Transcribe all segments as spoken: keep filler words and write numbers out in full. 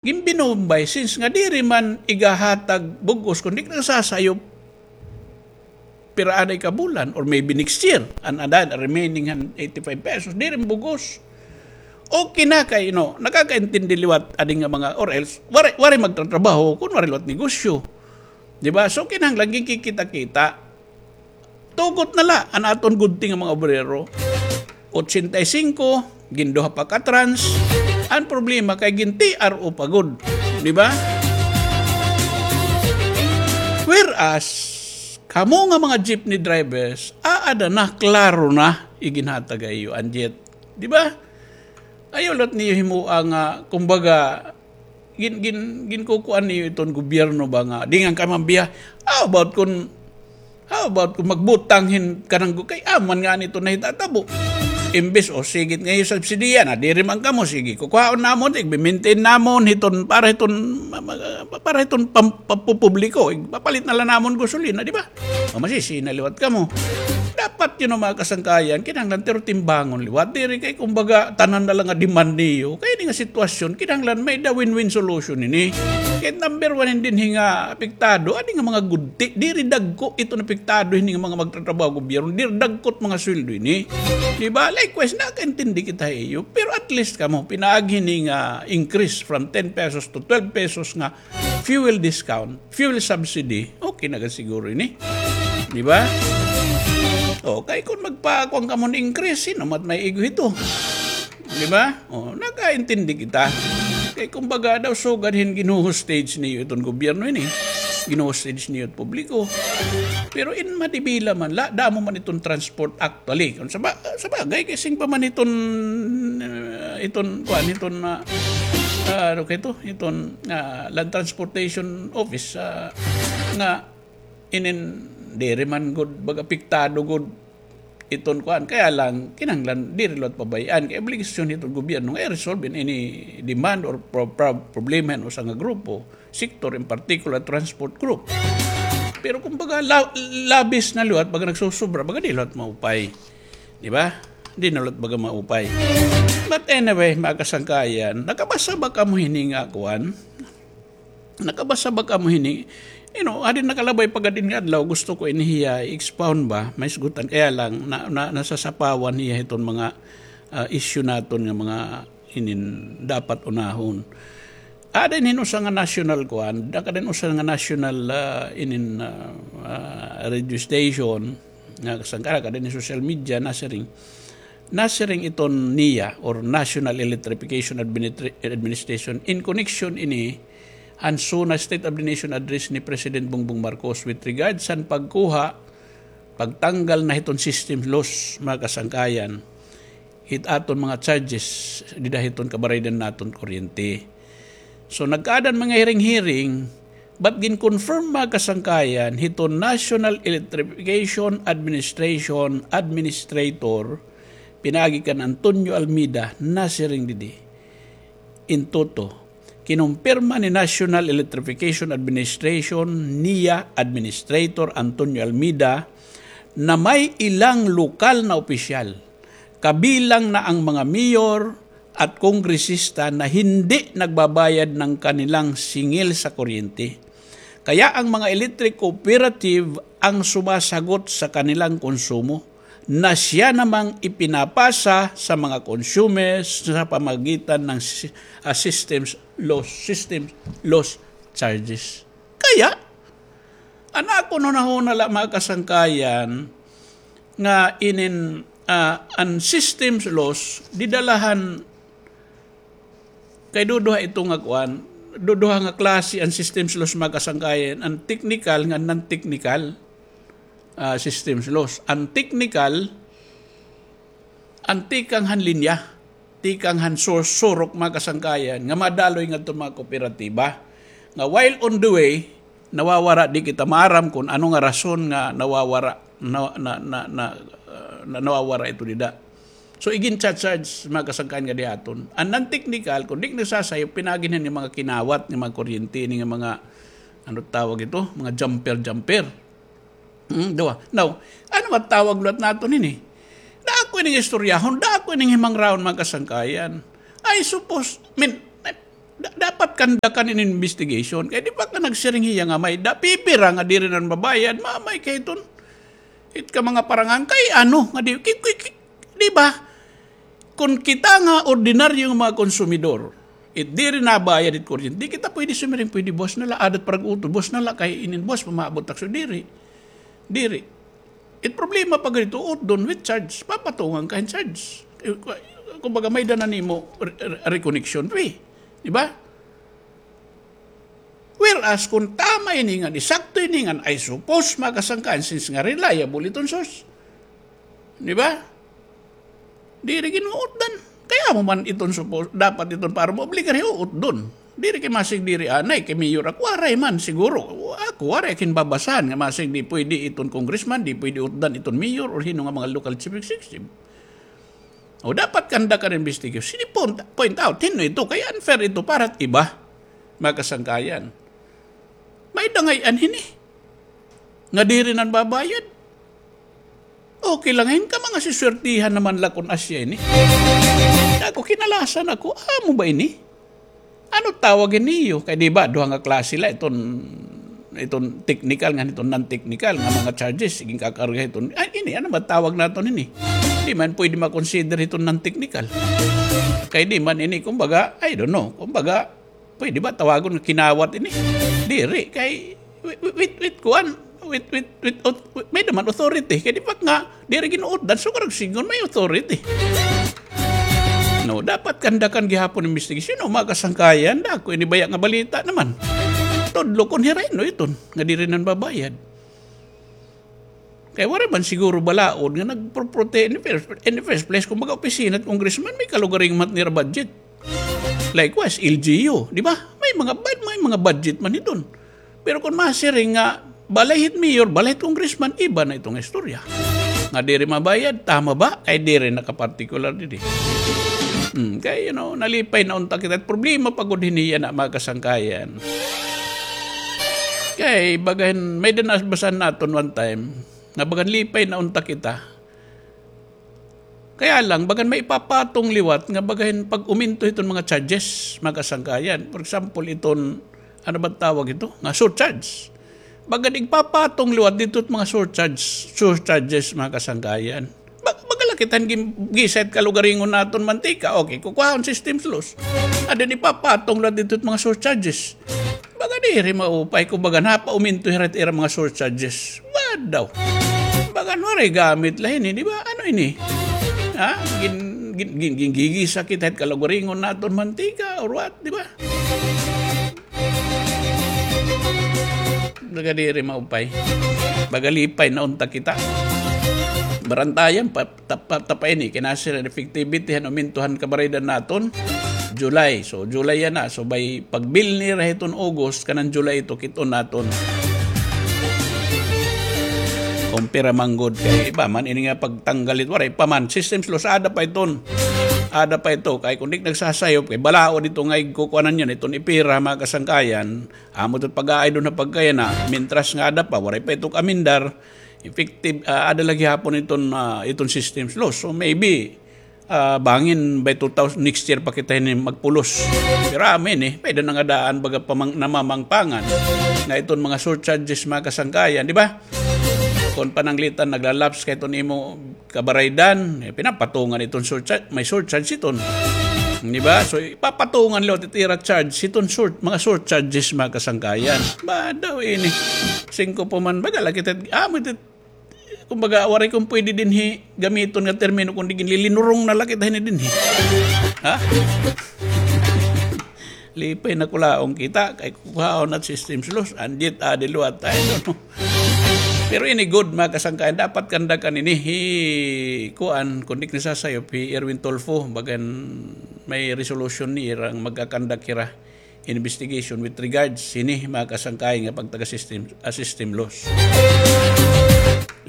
Ginbinumbay, since nga diri man igahatag bug-os, kundi nagsasayop pira anay ka bulan, or maybe next year, an, an, an remaining han eighty-five pesos, diri bug-os. Okay na kay, no, nakakaintindi liwat adi nga mga, or else, waray, waray magtatrabaho, kun waray liwat negosyo. Di ba? So, kinahanglan ginkikita-kita. Tugot na la an aton gudti nga mga obrero. Ochenta y cinco, ginduha pa ka trans. An problema kay gin-T R O pa gud. Di ba? Whereas, kamo nga mga jeepney drivers, aada na, klaro na, iginhatag ha iyo an jet. Di ba? Ayaw liwat niyo himoa nga, kumbaga, gin-, gin-, ginkukuan niyo iton gobyerno ba nga, di ngan kami mabiya. How about kun, how about kun magbutang hin kanang gu-, kay amo man ngani iton nahitatabo. Imbes, o, sige it nga iyo subsidiya na, diri man kamo, sige, kukuhaon namon, igmi-maintain namon, hiton, para hiton, ma-, ma-, para hiton pam-, pampubliko, igpapalit na la namon gasolina, di ba? O, masisina liwat kamo. Dapat, you know, mga kasangkayan, kinahanglan, pero timbangon liwat. Diri kay, kumbaga, tanan na la nga demand niyo. Kay ini nga sitwasyon, kinahanglan may-ada win-win solution ini. Kay number one, dinhi nga apektado, adi nga mga gudti, diri dagko iton apektado hini nga mga magtatrabaho gobyerno, diri dagko it mga sweldo ini. Di ba? Likewise, nakaintindi kita ha iyo. Pero at least kamo, pinaagi hini nga increase from ten pesos to twelve pesos nga fuel discount, fuel subsidy, okay na gad siguro ini. Di ba? O, kay kun magpakuan kamo hin increase, sino man it maiigo hito? Di ba? O, nakaintindi kita. Kay kumbaga daw sugad hin gin-hostage niyo iton gobyerno ini. Gin-hostage niyo it publiko. Pero in madibila man la, damo man iton Transport Act. Actually, kun sa ba-, sa bagay, kay sing pa man iton, ah, iton, kuan, iton, ah, ah, ano kay ito? Iton, ah, Land Transportation Office, ah, nga inin, diri man gud, baga, apektado gud iton, kuan. Kaya lang, kinahanglan, diri liwat pabay-an. Kay obligasyon hiton gobyerno nga i-resolve in any demand or pro-, pro-, problema hin usa nga grupo. Sector, in particular, transport group. Pero kumbaga, la-, labis na liwat, baga nagsusobra, baga di liwat maupay. Di ba? Di na liwat baga maupay. But anyway, mga kasangkayan, nakabasa ba kamo hini nga kuan? Nakabasa ba kamo hini? You know, adi nakalabay pa gad ini nga adlaw, gusto ko ini hiya i-expound ba, mahisgutan. Kaya lang, na, na, nasasapawan hiya hiton mga, ah, issue naton nga mga inin dapat unahon. Ada inin usa nga national kuan, ada inin usa nga national, ah, inin, ah, ah, radio station, nga kasangkara, ada inin social media, nasiring, nasiring iton NEA, or National Electrification Administra-, Administration, in connection ini han SONA State of the Nation Address ni President Bongbong Marcos with regards han pagkuha, pagtanggal na hiton system loss, mga kasangkayan, hit aton mga charges dida hiton kabaraydan naton kuryente. So, nagkaada an mga hearing-hearing, but gin-confirm, mga kasangkayan, hiton National Electrification Administration Administrator, pinaagi kan Antonio Almida, nasiring didi. In toto, kinumpirma ni National Electrification Administration, NEA, Administrator Antonio Almida na may ilang lokal na opisyal, kabilang na ang mga mayor at kongresista, na hindi nagbabayad ng kanilang singil sa kuryente. Kaya ang mga electric cooperative ang sumasagot sa kanilang konsumo na siya namang ipinapasa sa mga consumers sa pamagitan ng si-, ah, systems loss, systems loss charges. Kaya, an akon hunahuna la, mga kasangkayan, nga inin, ah, an systems loss, dida la han, kay duduha ito nga kuan, duduha nga klase an systems loss, mga kasangkayan, an technical nga non-technical, ah, systems loss. An technical, an tikang han linya, tikang han sur-, surok, mga kasangkayan, nga madaloy ngadto mga kooperatiba. Nga while on the way, nawawara, di kita maaram kun ano nga rason nga nawawara, na, na, na, na, ah, na, nawawara ito dida. So, igin-charge, mga kasangkayan, nga di aton. An non-technical, kun di nagsasayop, pinaagi na ni mga kinawat, ni mga kuryente, ni nga mga, ano tawag ito? Mga jumper-jumper. Hmm, duha. Now, ano matawag liwat naton ini? Dako ining istoryahon, dako ining himangrahon, mga kasangkayan. I suppose, I mean, Da-, dapat kandakan in investigation. Kay di ba ka nagsiring hiya nga may da, pipira nga diri na mabayad, mamay kay iton. It ka mga parangan kay ano, nga di, ki-, ki-, ki-, di ba? Kun kita nga ordinaryo nga mga konsumidor, it diri nabayad it kuryente, di kita pwede sumiring, pwede buwas na la, adat parag-utod, buwas na la, kay inin buwas, pamaabot takso, diri. Diri. It problema pa ganito, utdon with charge, papatungan ka hin charge. Eh, kumbaga, may dana nimo re-, re-, reconnection fee. Di ba? Whereas, kung tama ini nga, di sakto ini nga, I suppose, mga kasangkayan, since nga reliable iton source. Di ba? Diri ginuutdan. Kay amo man iton suppose, dapat iton para maobligar hiuutdon. Diri kay masig diri anay, kay mayor ako, waray man siguro. Ako, waray ak hin babasahan nga masig di pwede iton congressman, di pwede utdan iton mayor or hin-o nga mga local chief executive. O dapat kandakan investigation. Sige, point, point out, hin-o ito, kay unfair ito para iba, mga kasangkayan. May dangay-an hini. Nga diri na babayad. Okay la, hin ka mga siswertihan naman la kun asya ini. Ako, kinalasan ako, amo ba ini? Ano tawag ini iyo? Kay di ba, duha nga klase la, iton, iton technical nga iton non-technical nga mga charges, sige kakarga iton. Ay, ini, ano ba tawag naton ini? Di man pwede ma-consider iton non-technical. Kay di man ini, kumbaga, I don't know, kumbaga, pwede ba tawagon nga kinawat ini? Diri, kay with, with, with, with kuan, with, with, with, with, may naman authority. Kay di ba nga, diri ginuutdan, so karag sigon may authority. No, dapat kandakan gihapon investigation, no, mga kasangkayan, dako ini baya nga balita naman. Tudlo kon hira hin-o iton, nga diri nan babayad. Kay waray man siguro balaod nga nagproprote in the first, in the first place, kumbaga opisina it congressman, may kalugaringon man nira budget. Likewise, L G U, di ba? May mga bad, may mga budget man iton. Pero kung masiring nga, balay hit mayor, balay hit congressman, iba na iton istorya. Nga diri mabayad, tama ba? Kay diri nakapartikular didi. Hmm, kay, you know, nalipay na unta kita. Problema pa gud hini yana, mga kasangkayan. Kay, bagan, may-ada nabasahan naton one time, nga bagan lipay na unta kita. Kaya lang, bagan may ipapatong liwat nga bagan pag-uminto hiton mga charges, mga kasangkayan. For example, iton, ano ba tawag ito? Nga surcharge. Bagan igpapatong liwat dito it mga surcharge, surcharges, mga kasangkayan. Ba-, baga la kita hin gin-, gisa it kalugaringon naton mantika. Okay, kukuhaon system loss. Adi ipapatong liwat dito it mga surcharges. Baga diri maupay, kumbaga, napauminto hira it ira mga surcharges. Ba daw? Baga, waray gamit la hini, di ba? Ano ini? Ha? Gin-, gin-, gin-, gingigisa kita hit kalugaringon naton mantika or what, di ba? Baga diri maupay. Baga lipay na unta kita. Barantayan pa, tapa, tapa ini, kinasiring effectivity han uminto han kabaraydan naton, July. So, July yana. So, by pagbilin nira hiton August, kanan July ito, kit-on naton. Kon pira man gud kay iba man, ini nga pagtanggal it, waray pa man. System loss, aada pa iton. Aada pa ito. Kay kon di nagsasayop, kay balaod ito nga igkukuanan yana, iton ipira, mga kasangkayan. Amo ito pag-aay doon na pagkaya na, mintras nga aada pa, waray pa ito amendar, effective, ah, aada la gihapon iton, ah, iton system loss. So maybe, ah, bangin by two thousand, next year pa kita ini magpulos. Pero amin eh, pwede na nga daan baga pamang-, namamangpangan nga iton mga surcharges, mga kasangkayan, di ba? Kon pananglitan, naglalaps kay iton imo kabaraydan, eh, pinapatungan iton surcharge, may surcharge iton. Di ba? So, ipapatungan liwat it ira charge hiton sur-, mga surcharges, mga kasangkayan. Ba daw ini? Singko pa man, baga la kita, amo ito, kumbaga, waray kon pwede dinhi gamiton nga termino, kundi ginlilinurong na la kita hini dinhi. Ha? Lipay na kulaon kita, kay kukuhaon na it system loss, andiet adi liwat tayo, no? Pero ini good, mga kasangkayan, dapat kandakan ini hi, kuan, kon di nasasayop, hi Erwin Tulfo, bagan may resolution ni ira nga magkakandak hira investigation with regards hini, mga kasangkayan, nga pagtaga system, ah, system loss.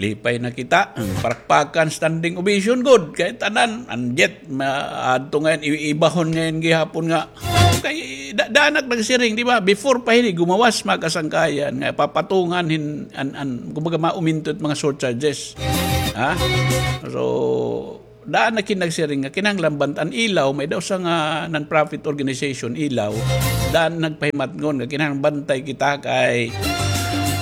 Lipay na kita. Parakpakan standing ovation gud kay tanan. Andiet, ma-, adto ngayon, i-, ibahon ngayon gihapon nga. Kay da-, daan ak nagsiring, di ba? Before pa hini, gumawas, mga kasangkayan, nga papatungan hin, an, an, kumbaga, mauminto it mga surcharges. Ha? So, Daan na kinagsiring nga kinahanglan bantay an Ilaw, may daw sa nga non-profit organization, Ilaw. Daan nagpahimatngon nga kinahanglan bantay kita kay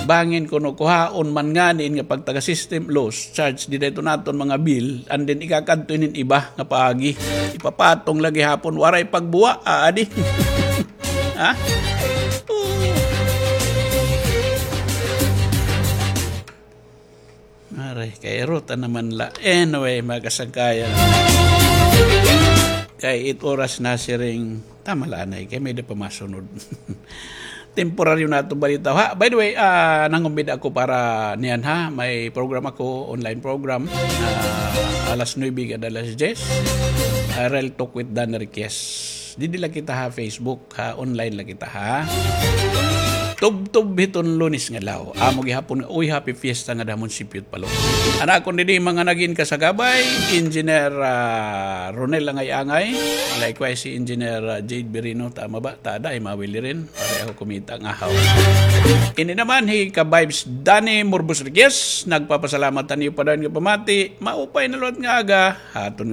bangin kuno kuhaon man ngani nga pagtaga system loss charge dida iton aton mga bill, and then ikakadto inin iba nga paagi. Ipapatong lagi hapon, waray pagbuwa, aadi. Ha? Aray, kay ruta naman la. Anyway, mga kasangkayan. Kay it oras na siring, tama la anay, kay may da pa masunod. Temporaryo na itong balita. Ha, by the way, ah, nangumbida ako para niyan ha. May program ako, online program. Ah, alas nuebe kada alas diyes. Ah, Real Talk with Dan Riquez. Didi la kita ha Facebook, ha, online la kita ha. Tubtob hiton Lunes nga adlaw. Amo gihapon nga, uy, happy fiesta nga damon si Piyot Palo. An akon didi mga nagin kasagabay, Engineer, ah, Ronel Angay-Angay, likewise si Engineer, ah, Jade Birino, tama ba? Tada, ay mawili rin. Pare ako kumita nga haw. Ini naman hi ka-vibes Danny Murbos Riquez, nagpapasalamat han iyo padayon nga pamati, maupay na liwat nga aga, haton